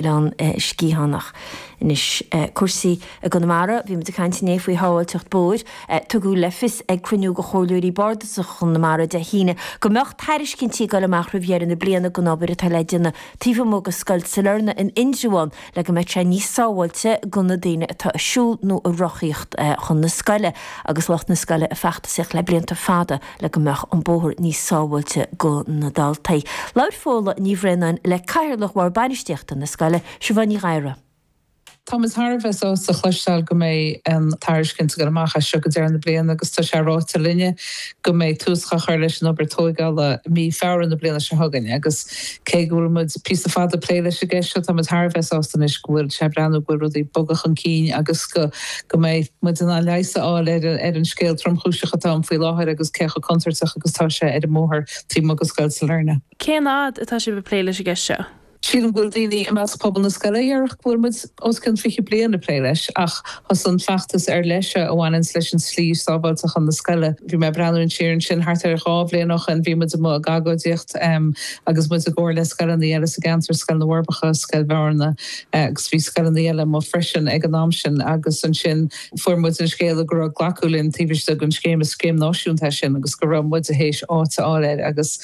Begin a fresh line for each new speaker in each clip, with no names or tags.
Oileán Sciathánach. Anois, cúrsaí i gConamara. Bhí muid ag caint inné faoi shábháilteacht bóthair. Tugadh le fios ag cruinniú de Chomhairleoirí Bardasacha Chonamara Dé hAoine go mbeadh tairiscintí ag dul amach roimh dheireadh na bliana don obair atá le déanamh taobh amuigh de Scoil Sailearna in Indreabhán le go mbeadh sé níos sábháilte do na daoine atá ag siúl nó ag rothaíocht chun na scoile agus lucht na scoile ag feachtasaíocht le blianta fada le go mbeadh an bóthar níos sábháilte do na daltaí. Labhair Fódhla Ní Bhraonáin le Cathaoirleach Bhord Bainistíochta na scoile, Siobhán Ní Ghadhra.
Tá muid thar a bheith sásta a chloisteáil go mbeidh an tairiscint ag dul amach as seo go deireadh na bliana agus tá sé ráite linne go mbeidh tús á chur leis an obair tóigeála i mí Feabhra na bliana seo chugainn agus cé go bhfuil muid píosa fada ag plé leis an gceist seo tá muid thar a bheith sásta anois go bhfuil sé ag breathnú go bhfuil rudaí ag bogadh chun cinn agus go go mbeidh muid in ann leigheas a fháil ar an scéal tromchúiseach atá ann faoi láthair agus cé chomh contúirteach agus atá sé ar an mbóthar taobh amuigh de Scoil Sailearna.
Cén fhad atá sibh ag plé leis an gceist seo?
Sílim go bhfuil daoine i measc pobal na scoile a dhéarfadh go bhfuil muid os cionn 20 bliain ag plé leis ach thosaigh an feachtas ar leith seo a bhaineanns leis an tslí sábháilte chun na scoile. Bhí mé ag breathnú siar ansin thart ar dhá bhliain ó shin bhí muid amuigh ag agóidíocht agus muid i gcomhar le scoileanna eile sa gceantar, Scoil na bhForbacha, Scoil Bhearna, agus bhí scoileanna eile amuigh freisin ag an am sin agus ansin fuair muid an scéala go raibh glacadh linn taobh istigh den scéim, is scéim náisiúnta é sin, agus go raibh muid théis áit a fháil air agus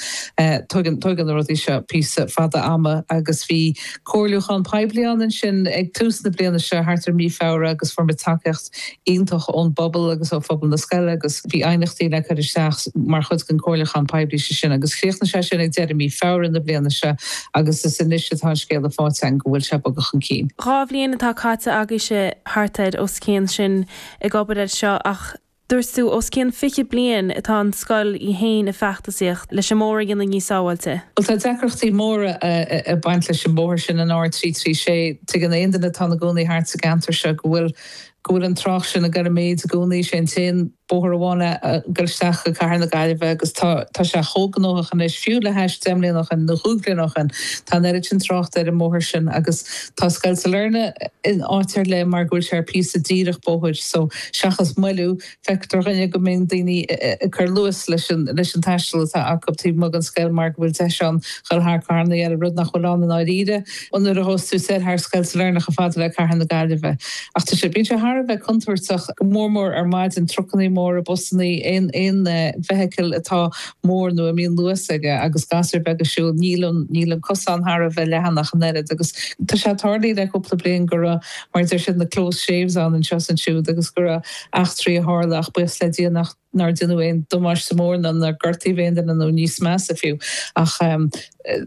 tógann, tógann na rudaí seo píosa fada ama agus bhí comhairliúchán poiblí ann ansin ag tús na bliana seo thart ar mí Feabhra agus fuair muid tacaíocht iontach ón bpobal agus ó phobal na scoile agus bhí aighneachtaí le cur isteach mar chuid den chomhairliúchán poiblí sé sin agus chríochnaigh sé sin ag deireadh mí Feabhra na bliana seo agus is anois atá an scéala faighte againn go bhfuil sé ag bogadh chun cinn.
2 bhliain atá caite agaibhse thart ar os cionn sin ag obair air seo ach Dúirt tú, os cionn 20 bliain atá an scoil í fhéin ag feachtasaíocht leis an mbóthar a dhéanamh níos sábháilte.
Bhuel, tá deacrachtaí móra ag baint leis an mbóthar sin, an R336. Tuigeann aon duine atá ina gcónaí thart sa gceantar seo go bhfuil go bhfuil an trácht sin ag dul i méid i gcónaí. Is é an t-aon bóthar amháin ag dul isteach go Cathair na Gaillimhe agus tá tá sé chomh gnóthach anois, fiú le hais 10 mbliana ó shin nó chúig bhliana ó shin, tá an oiread sin tráchta ar an mbóthar sin agus tá Scoil Sailearna in áit ar leith mar go bhfuil sé ar phíosa díreach bóthair so Seachas moilliú, feictear do dhuine go mbíonn daoine ag cur luas leis an leis an taisteal atá acu taobh amuigh den scoil mar go bhfuil deis ann dhul thar carrannaí eile, rud nach bhfuil ann i ndáiríre nuair a ghabhas tú soir thar Scoil Sailearna chomh fada le Cathair na Gaillimhe. Ach tá sé, bíonn sé thar a bheith contúirteach, go mór mór ar maidin, trucannaí móra, busannaí, aon aon bhfeithicil atá mór nó a mbíonn luas aige agus gasúir beaga ag siúl, níl an níl an cosán thar a bheith leathan ach an oiread agus tá sé tarlaithe le cúpla bliain go raibh mar a deir siad, na close shaves ann anseo is ansiúd agus go raibh eachtraí a tharla ach buíochas le Dia nach nár deineadh aon damáiste mór ná nár gortaíodh aon duine nó níos measa fiú. Ach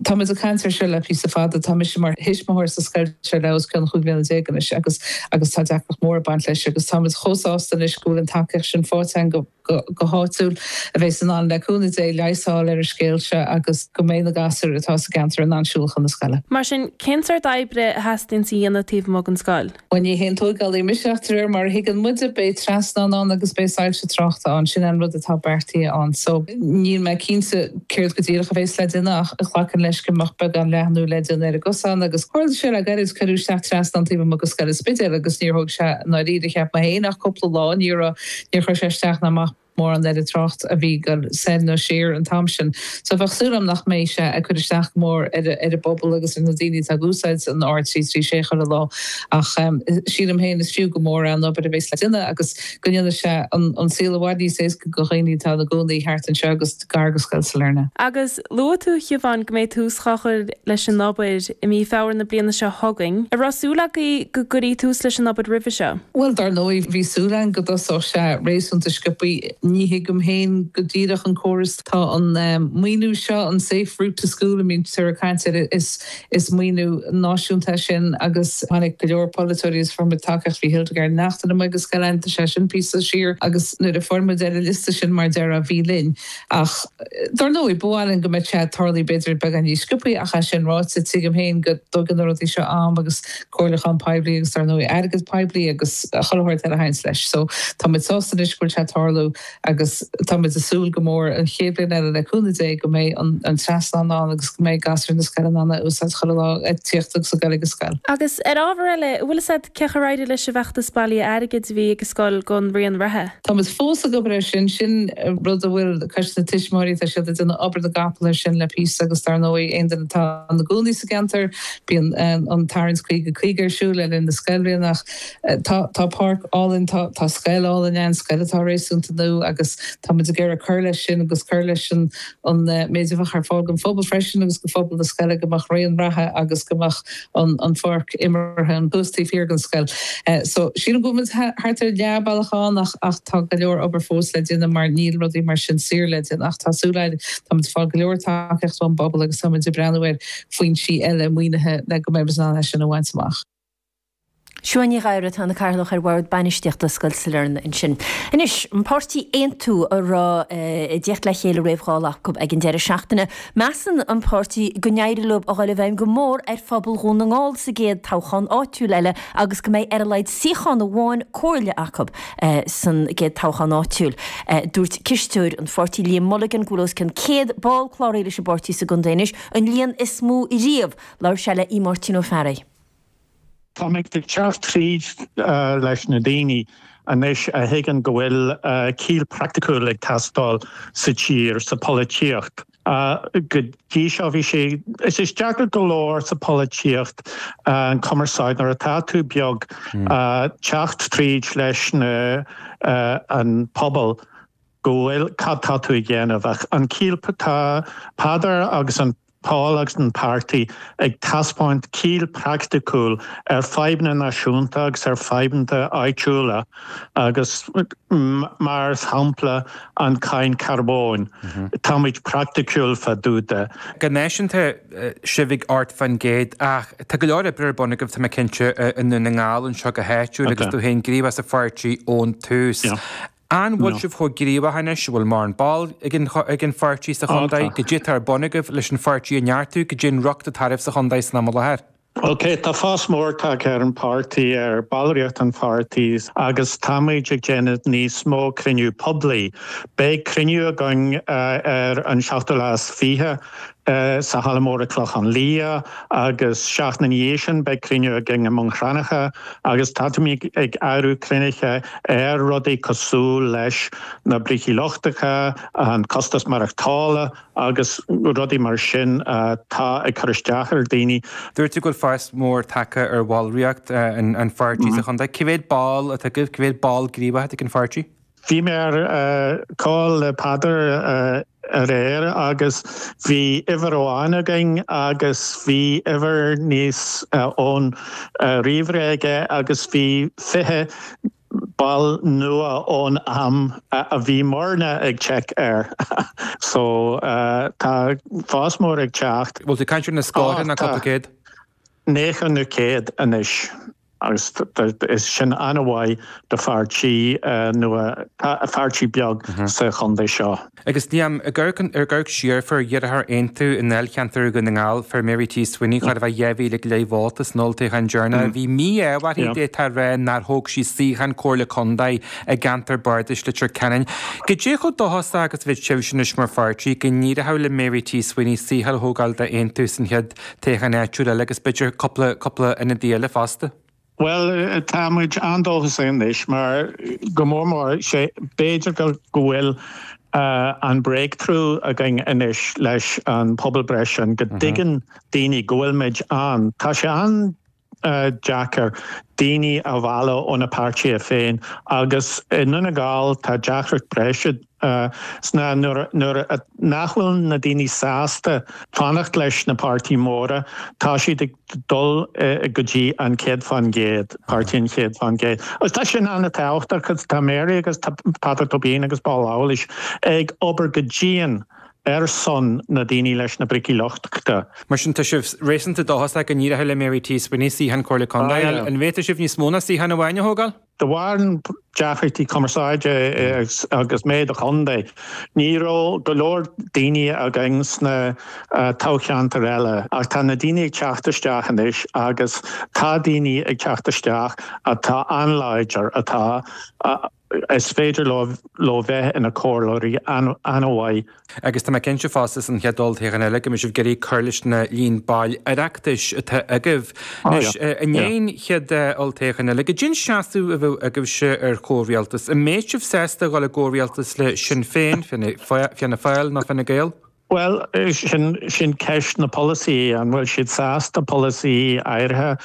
tá muid ag caint air seo le píosa fada. Tá mise mar thuismitheoir sa scoil seo le os cionn chúig bhliana déag anois agus agus tá deacracht mhór ag baint leis agus tá muid chomh sásta anois go bhfuil an tacaíocht sin faighte againn go go háitiúil, a bheas in ann, le cúnamh Dé, leigheas a fháil ar an scéal seo agus go mbeidh na gasúir atá sa gceantar in ann siúl chun na scoile.
Mar sin, cén sórt oibre a theastaíonns a dhéanamh taobh amuigh den scoil?
Bhuel, ní haon tóigeálaí mise ach de réir mar a thuigeann muide, beidh trasnán ann agus beidh soilse tráchta ann. Sin an rud atá beartaithe ann. So, níl mé cinnte céard go díreach a bheas le déanamh ach glacaim leis go mbeadh beagán leathnú le déanamh ar an gcosán agus tharla sé le gairid, cuireadh isteach trasnán taobh amuigh de scoil an Spidéil agus níor thóg sé i ndáiríre, cheap mé féin, ach cúpla lá. Ní raibh Níor chuir sé isteach ná amach mórán ar an trácht a bhí ag dul soir nó siar an t-am sin. So bheadh súil agam nach mbeidh sé ag cur isteach go mór ar ar an bpobal agus ar na daoine atá ag úsáid an R336 chuile lá. Ach sílim féin is fiú go mór é an obair a bheas le déanamh agus go ndéanfaidh sé an saol i bhfad níos éasca do dhaoine atá ina gcónaí thart anseo agus gar do Scoil Sailearna.
Agus luaigh tú, a Shiobhán, go mbeidh tús á chur leis an obair i mí Feabhra na bliana seo chugainn. An raibh súil agaibh go gcuirfí tús leis an obair roimhe seo?
Bhuel, dar ndóigh, bhí súil againn go dtosódh sé réasúnta sciobthaí. Ní thuigim féin go díreach an córas. Tá an maoiniú seo, an Safe Route to School a mbítear ag caint air, is is maoiniú náisiúnta é sin agus tháinig go leor polaiteoirí agus fuair muid tacaíocht. Bhí Hildegarde Naughton amuigh go scoil againn, tá sé sin píosa siar agus nuair a fuair muid ar an liosta sin mar a déarfá bhí linn. Ach dar ndóigh, ba mhaith linn go mbeadh sé ag tarlú b'fhéidir beagán níos sciobthaí ach é sin ráite, tuigim féin go dtógann na rudaí seo am agus comhairliúchán poiblí agus dar ndóigh airgead poiblí agus chuile shórt eile a thaganns leis. So tá muid sásta anois go bhfuil sé ag tarlú. Agus táimid ag súil go mór an chéad bhliain eile le cúnamh Dé go mbeidh an trasnán ann agus go mbeidh gasúir na scoile in ann é a úsáid chuile lá ag tíocht agus ag dul ag an scoil.
Agus ar ábhar eile, an bhfuil fhios a'd cén chaoi ar éirigh leis an bhfeachtas bailithe airgid a bhí ag an scoil don raon reatha?
Táimid fós ag obair air sin. Sin rud a bhfuil Coiste na Tuismitheoirí, tá siad ag déanamh obair na gcapall air sin le píosa agus dar ndóigh aon duine atá ina gcónaí sa gceantar, bíonn an tarraingt 50 50 ar siúl le linn na scoilbhliana ach Tá, tá páirc álainn, tá, tá scoil álainn ann, scoil atá réasúnta nua agus táimid ag iarraidh cur leis sin agus cur leis an, an méid a bheadh ar fáil don phobal freisin agus do phobal na scoile, go mbeadh raon reatha agus go mbeadh an, an pháirc imeartha an thuas taobh thiar den scoil. So, sílim go bhfuil muid thart ar leath bealach ann ach, ach tá go leor obair fós le déanamh mar níl rudaí mar sin saor le déanamh ach tá súil againn, táimid ag fáil go leor tacaíocht ón bpobal agus táimid ag breathnú ar foinsí eile maoinithe le go mbeimid in ann é sin a bhaint amach.
Siuán Ní Ghadhra atá ina Cathaoirleach ar Bhord Bainistíochta Scoil Sailearna ansin. Anois, an páirtí Aontú a raibh ag tíocht le chéile roimh Dháil acu ag an deireadh seachtaine, measann an páirtí go n-éireoidh leo a dhul i bhfeidhm go mór ar phobal Dhún na nGall sa gcéad toghchán áitiúil eile agus go mbeidh ar a laghad suíochán amháin comhairle acu san gcéad toghchán áitiúil. Dúirt cisteoir an pháirtí Liam Mulligan go bhfuil os cionn 100 ball cláraithe leis an bpáirtí sa gcontae anois, an líon is mó riamh. Labhair sé le Aodh Máirtín Ó Fearraigh.
Táimid ag teacht tríd leis na daoine anois a thuigeann go bhfuil ciall praiticiúil ag teastáil sa tír, sa pholaitíocht. Go dtí seo bhí sé, is is deacair go leor sa pholaitíocht an cumarsáid nuair atá tú beag teacht tríd leis na an pobal go bhfuil, cad tá tú ag déanamh ach an ciall, tá Peadar agus an Paul agus an páirtí ag taispeáint ciall praiticiúil ar fadhbanna náisiúnta agus ar fadhbanna áitiúla agus mar shampla an cáin carbóin, táimid praiticiúil fá dtaobh de.
Go náisiúnta, sibh ag 8% ach tá go leor oibre ar bun agaibh, tá mé cinnte, i nDún na nGall anseo go háitiúil agus tú féin gníomhach sa pháirtí ón tús. An bhfuil sibh chomh gníomhach anois, an bhfuil mórán ball ag an ag an pháirtí sa chontae? Goidé atá ar bun agaibh leis an pháirtí a neartú, goidé an riocht atá oraibh sa chontae san am i láthair.
Ok, tá fás mór tagtha ar an pháirtí, ar ballraíocht an pháirtí agus táimid ag déanamh níos mó cruinniú poiblí. Beidh cruinniú againn ar an seachtú lá is 20 sa Halla Mór i Clochán Liath agus seachtain ina dhiaidh sin beidh cruinniú againn i mBun Cranncha agus táimid ag eagrú cruinnithe ar rudaí cosúil leis na brící lochtacha, an costas maireachtála agus rudaí mar sin atá ag cur isteach ar daoine.
Dúirt tú go bhfuil fás mór tagtha ar bhallraíocht an pháirtí sa chontae. Cé mhéad ball atá agaibh? Cé mhéad ball gníomhach atá ag an pháirtí?
Bhí mé ar call le Peadar aréir agus bhí uimhir amháin againn agus bhí uimhir níos ón ríomhaire aige agus bhí 20 ball nua ón am a bhí muidne ag check air. So tá fás mór ag teacht.
Bhfuil tú ag caint ar na scórtha nó cúpla céad?
90 nó 100 anois. Agus is sin an-mhaith do pháirtí nua, pháirtí beag sa chontae seo.
Agus Liam, ag amharc siar, fuair deartháir Aontú i ndáilcheantar Dhún na nGall, fuair Mary T. Sweeney chóir a bheith 2,000 go leith vóta san olltoghchán deireanach. Bhí mí-ádh uirthi, d'fhéadfá a rá, nár thóg sí suíochán Comhairle Contae i gceantar bardais Leitir Ceanainn. Goidé chomh dóchasach agus a bheadh sibhse anois mar pháirtí go n-éireoidh le Mary T. Sweeney suíochán a thógáil d'Aontú san chéad toghchán áitiúil eile agus b'fhéidir cúpla, cúpla ionadaí eile fosta.
Bhuel, tá muid an-dóchasach anois mar go mór mór, sé, b'fhéidir go, go bhfuil an breakthrough againn anois leis an pobalbhreith sin, go dtuigeann daoine go bhfuil muid ann. Tá sé an-deacair daoine a mhealladh ó na páirtithe féin agus i nDún na nGall tá deacracht breise sna nuair nach bhfuil na daoine sásta fanacht leis na páirtí móra, tá siad ag dul go dtí an 100%, páirtí an 100%. Agus tá sin an-tábhachtach agus tá Mary agus tá Peadar Tóibín agus Paul Lawless ag obair go dian ar son na daoine leis na brící lochtacha.
Mar sin, tá sibh réasúnta dóchasach go n-éireoidh le Mary T. Sweeney suíochán Comhairle Contae a fháil. An bhféadfadh sibh níos mó ná suíochán amháin a thógáil?
De bharr an. deacrachtaí cumarsáide agus mé i do chontae, ní raibh go leor daoine againn sna toghcheantair eile ach tá na daoine ag teacht isteach anois agus tá daoine ag teacht isteach atá an-láidir, atá, is féidir leo bheith ina comhairleoirí an-mhaith.
Agus tá mé cinnte fosta san chéad olltoghchán eile go mbeidh sibh ag iarraidh cur leis na líon baill Oireachtais atá agaibh. Anois, i ndiaidh an chéad olltoghchán eile, goidé an seasamh a bheadh agaibhse ar chomhrialtas? An mbeadh sibh sásta a dhul i gcomhrialtas le Sinn Féin, Fianna Fáil nó Fine Gael?
Bhuel, sin, sin ceist na polasaí, an bhfuil siad sásta polasaí áirithe a.